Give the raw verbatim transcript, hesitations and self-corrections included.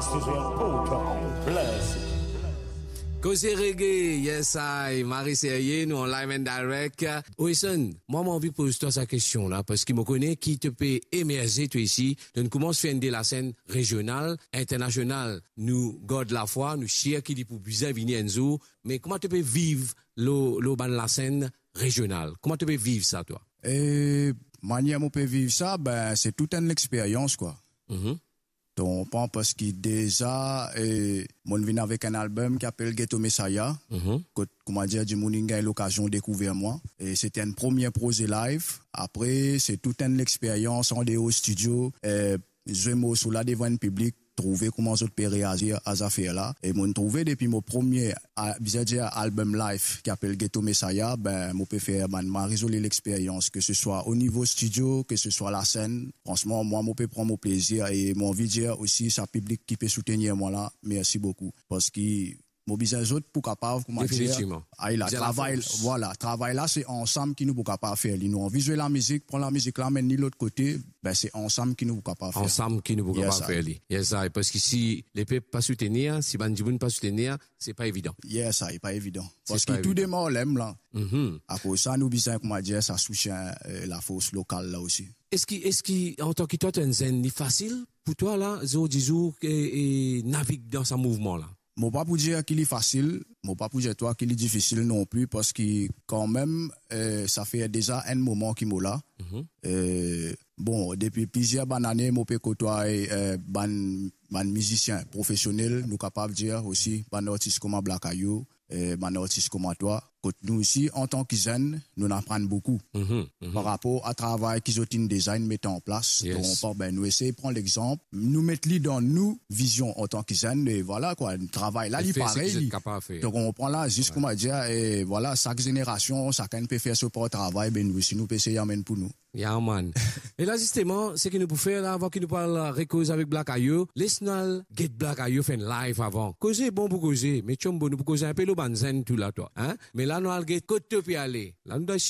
This is your program. Bless. Koze Reggae, yes I, Mari Serye, nou an live and direct. Wilson, mwa mo anvi poz twa sa kestion la, parski mo kone ki to pe emerze twa isi, to koumans fer enn de lasenn rezional, internasional. Nou gard lafwa, nou sir ki li pou bizin vini enn zour, me kouma to pe viv lor, lor bann lasenn rezional? Kouma to pe viv sa twa? E manier mo pe viv sa, ben, se tou enn lexperyans, kwa. Mhm. To konpran, parski deza, e, mo'nn vinn avek enn album ki apel Ghetto Messiah, mhm, kot, kouma dir, dimoun inn gagn lokazion dekouver mwa. E se ti enn premie proze live. Apre, se tou enn lexperyans andeor stidio, e, zwe morso la devan enn piblik, trouve kouma zot pe reazir a zafer la. E mo'nn trouve depi mo premie, a, bizin dir, album live ki apel Ghetto Messiah, ben, mo pe fer bann mari zoli lexperyans, ke se swa o nivo stidio, ke se swa lasenn. Fransman, mwa, mo pe pran mo plezir e mo anvi dir osi sa piblik ki pe soutenir mwa la, mersi boukou. Parski mo bizin zot pou kapav, kouma dir, definitivman, ay la, bizin travay, lafors. Vwala, travay la, se ansam ki nou pou kapav fer li. Nou anvi zwe lamizik, pran lamizik la, amenn li lot kote, ben, se ansam ki nou pou kapav fer. Ansam ki nou pou kapav fer li. Yes I. Parski si lepep pa soutenir, si bann dimoun pa soutenir, se pa evidan. Yes I, pa evidan. Parski tou demar lem la. Mhm. Akoz sa, nou bizin, kouma dir, sa soutien, e, lafors lokal la osi. Eski, eski, antan ki twa, to enn zenn, li fasil pou twa la, zordi zour, e, e, navig dan sa mouvman la? Mo pa pou dir ki li fasil, mo pa pou dir twa ki li difisil non pli, parski kanmem, e, sa fer deza enn moman ki mo la. Mhm. E, bon, depi plizier bann ane, mo pe kotway, e, bann, bann mizisien profesionel, nou kapav dir osi, bann artis kouma Black Ayo, e, bann artis kouma twa, kot nou osi, antan ki zenn, nou aprann boukou. Mhm, mhm. Par rapor a travay ki zot inn deza inn met an plas. Yes. Donk, ben, nou esey pran lexanp, nou met li dan nou vizion antan ki zenn, e vwala kwa, travay la, li parey li. Donk, ou konpran la, zis kouma dir, e vwala, sak zenerasion, sakenn pe fer so par travay, ben, nou osi, nou pe esey amenn pou nou. Yeah, man. E la, zisteman, seki nou pou fer la, avan ki nou pou al rekoz avek Black Ayo, les nou al get Black Ayo fer enn live avan. Koze bon pou koze, me Chombo, nou pou koze inpe lor bann zenn tou la, twa, hein? Me la, nou al get kot to pe ale. La, nou dan